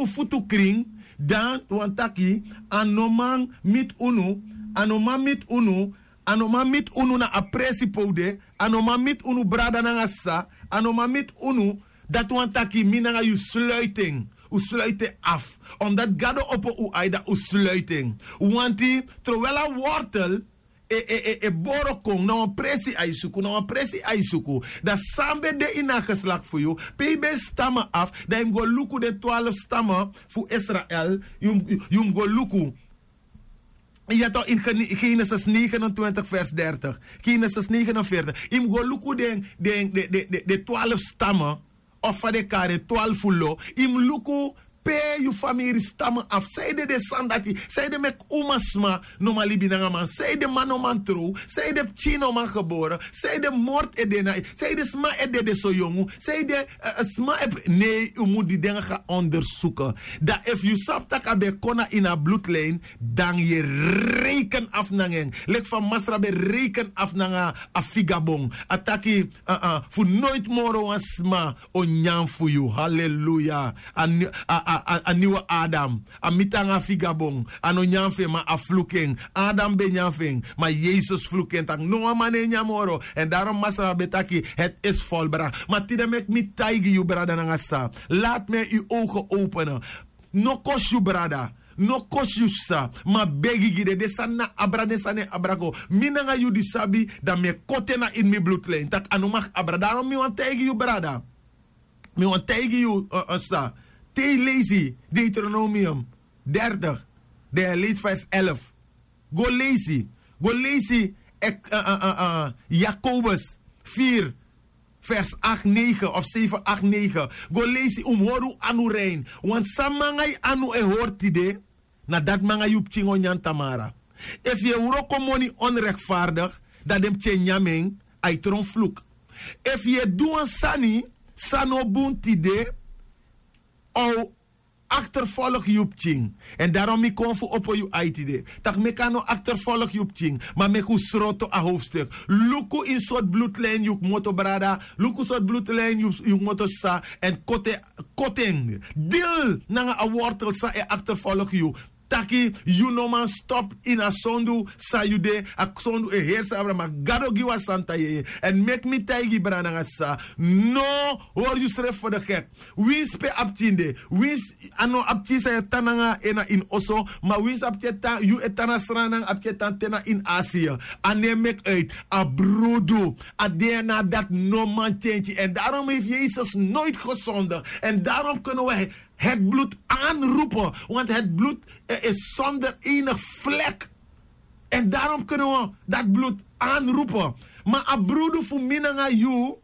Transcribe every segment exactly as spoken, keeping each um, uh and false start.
futu krin, dan wani taki a no man miti unu, a no man miti unu, a no man miti unu na a presi pe un de, a no man miti unu brada nanga sisa, a no man miti unu. Dati wani taki mi nanga yu sluiti en. Un sluiti en afu. Omdati gado opo un ai dan un sluiti en. Wanti trowel a wortel e e e e boro kon na wan presi a yu suku na wan presi a yu suku. Dan san ben de ini a geslakti fu yu pe yu ben stama afu dan yu mus go luku den twalfu stama fu israel. Yu mus go luku. Ya to in genesis negenentwintig vers dertig. Genesis negenenveertig yu mus go luku den den den den twalfu stama. Of fa den kari en twalfu lo. Yu mus luku pe yu famiri stama afu san yu de den sani dati san yu de meki umasma. No man libi nanga man san yu de man no man trow san yu de pikin no man gebore san yu de mort e de na yu san yu de sma e dede so yongu san yu de sma e pri nei un mus di denga ga ondersuke. Dan efu yu sabi tak' a ben kon na ini a blutlin dan yu e reiken afu nanga en. Leki fa masra ben reiken afu nanga a figabon a taki fu noiti moro wan sma o nyan fu yu haleluya. A niwe adam a miti nanga a figabon a no nyan fu en ma a fluku en. Adam ben nyan fu en ma yesus fluku en tak' no wan man no e nyan moro. Èn darom masra ben taki heti esi folbra. Ma tide meki mi taigi yu brada nanga sisa lati mi en yu owgen owpene. No kosi yu brada no kosi yu sisa. Ma begi gi den den sani na abra den sani e abra go. Mi nanga yu di sabi dan mi e koti en na ini mi blutlin tak' a no maki abra darom mi wani taigi yu brada. Mi wani taigi yu sa te yu leisi deuteronomium dertig dan yu e leisi vers elf. Go leisi go leisi. Jakobus vier vers acht negen of zeven acht negen. Go leisi un mus hori un anu rein. Wan san mi nanga yu anu e hori tide na dati mi nanga yu pikin o nyan tamara. Efu yu e wroko moni onrektvaardik dan den pikin e nyan mi en a e tron fluk. Efu yu e du wan sani san no bun tide a o akterfolgi yu pikin. Èn darom mi kon fu opo yu ai tide tak' meki a no akterfolgi yu pikin. Ma meki un sroto a howfstuk. Luku ini sortu blutlin yu kmoto brada. Luku sortu blutlin yu kmoto sisa. Èn koti en dil nanga a wortel san e akterfolgi yu. Taki yu no man stopu ini a sondu san yu de. A sondu e heri sabra ma gado gi wan santa yeye. Èn meki mi taigi brada nanga sisa no hori yusrefi fu de gek. Winsi pe a pikin de winsi a no a pikin san yu e tan nanga en na ini oso. Ma winsi a pikin e tan yu e tan na sran nanga a pikin e tan te na ini asia. A no e meki uit a brudu a dna dati no man tyentyi èn darom hefi yesus noiti gesonde. Èn darom kunu wi heti blud anrupe. Wanti heti blud e sonder enig flek. Èn darom kunu wi dati blud anrupe. Ma a brudu fu mi nanga yu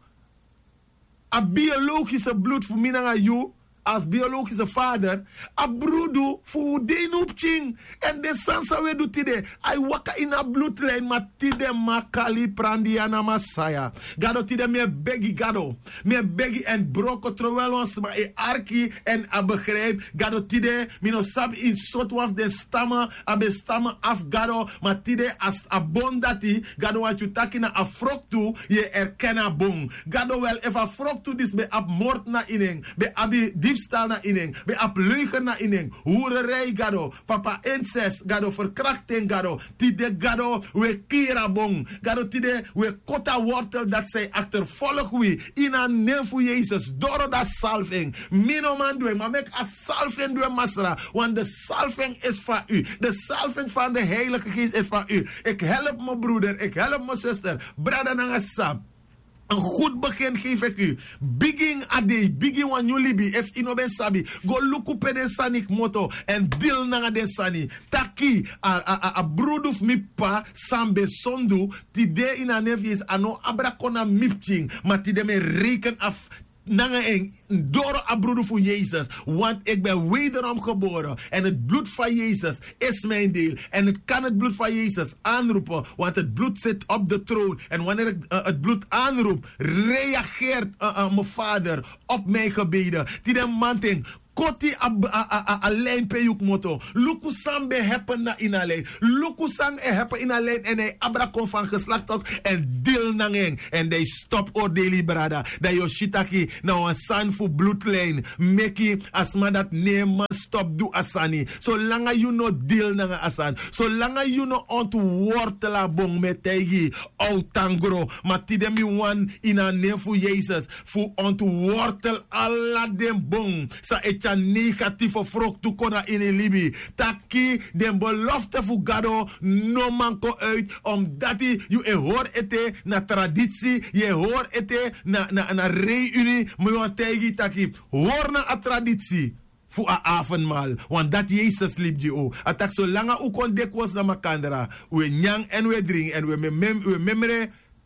a biologise blud fu mi nanga yu, a biologise fader a brudu fu un de ini un pikin. Èn den sani san un e du tide a e waka ini a bludlin ma tide makali prandi ya na masaya. Gado tide mi e begi gado mi e begi èn broko trowel wan sma e arki èn a begripi gado tide. Mi no sabi ini sortu wan fu den stama a ben stama afu gado. Ma tide a bon dati gado wani yu taki na a froktu yu e erken a bon. Gado wel efu a froktu disi ben abi mortu na ini en ben abi difstal na ini en ben abi leugen na ini en. Hurerei gado papa enses gado ferkrakti en gado. Tide gado wi e kiri a bon. Gado tide wi e koti a wortel dati san e akterfolgi wi ini a nen fu yesus doro dati salfi en. Mi no man du en ma meki a salfi en du en masra. Want de salfi en isi fa u de salfi en fan de heilige geest isi fa u. Eki help mi bruder eki help mi suster brada nanga sisa. En gud begin gefi eki u bigin a dei bigin wan nyun libi efu i no ben sabi go luku pe den sani kmoto èn dil nanga den sani. Taki a brudu fu mi p'pa san mi ben sondu tide ini a nen fu yesus a no abra kon na mi pikin. Ma tide mi e reiken afu nanga en doro a brudu fu yesus. Want eki ben wederom gebore èn heti blud fan yesus isi mi en deil. Èn heti kan heti blud fan yesus anrupe. Want heti blud siti op de troon èn waneri heti blud anrupu reageert mi fader op mi gebede. Tide manting koti a, a, a, a, a lijn pe yu kmoto. Luku san ben happen na ini a lijn. Luku san e happen ini a lijn. Èn a e abra kon fan geslakti op èn dil nanga en. Èn dan yu stop oordeli yu brada. Dan yu o si taki na wan sani fu bloodlijn meki a sma dati no e man stop du a sani. Solanga yu no dil nanga a sani, solanga yu no ontwortel a bon, mi e taigi yu, a o tan gro. Ma tide mi wani ini a nen fu Yesus fu ontwortel ala den bon san e tyari negatifu froktu kon na ini yu libi. Taki den belofte fu Gado no man kon uit, omdati yu e hori ete na tradisi, yu e hori ete na, na, na reuni. Mi wani taigi yu taki, hori na a tradisi fu a avondmaal, want dati Yesus libi gi un. A taki, solanga un kon dikwosi na makandra, un e nyan èn un e dringi èn un e memre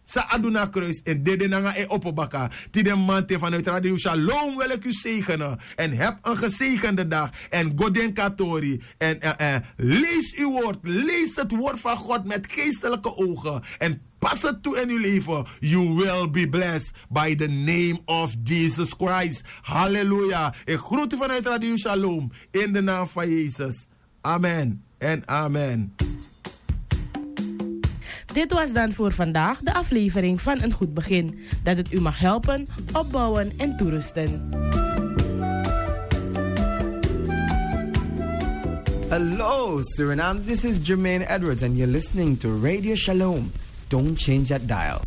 san a du na a kruis, en dede nanga en opo baka. Tide mamanten, vanuit Radio Shalom wil ik u zegenen en heb een gezegende dag. En go denki a tori en, en, en lees uw woord, lees het woord van God met geestelijke ogen en pas het toe in uw leven. You will be blessed by the name of Jesus Christ. Halleluja. Ik groet u vanuit Radio Shalom in de naam van Jezus. Amen en amen. Dit was dan voor vandaag de aflevering van Een Goed Begin. Dat het u mag helpen, opbouwen en toerusten. Hello, Suriname. This is Jermaine Edwards, and you're listening to Radio Shalom. Don't change that dial.